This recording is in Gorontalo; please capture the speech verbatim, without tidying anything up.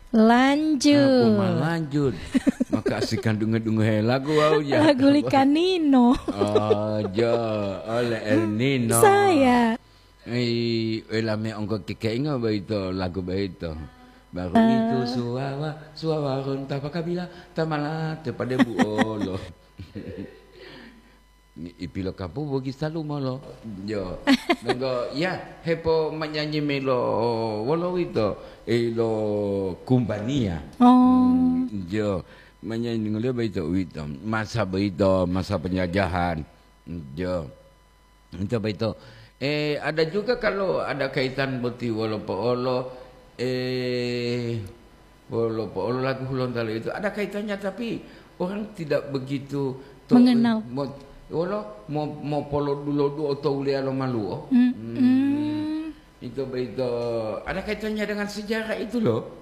Lanjut. Aku malanjut. Maka si kandunge-dunge lagu wau ya. Lagu likanino. Oh, jo, oleh El Nino. Saya. Ei, elame ongko kekeinga baito, lagu baito. Baru itu suwawa, suwawa ronta pakabila, tamala te pade buolo. Ipilo kapu bogi salumolo. Jo. Nenggo, ya, hepo manyanyi melo wolo wito, eh, lo kumbania. Oh. Hmm, jo. Manyanyi ngolio baito wito. Masa baito, masa penjajahan. Jo. Itu baito. Eh, ada juga kalau ada kaitan boti wolo poolo, eh, wolo poolo lagu Hulontalo itu ada kaitannya, tapi orang tidak begitu to-, Mengenal. Mo-, wolo mo-, mo polo dulo duo to ulia lo maluo. Hmm, Hmm. hmm. Itu baito ada kaitannya dengan sejarah itu loh.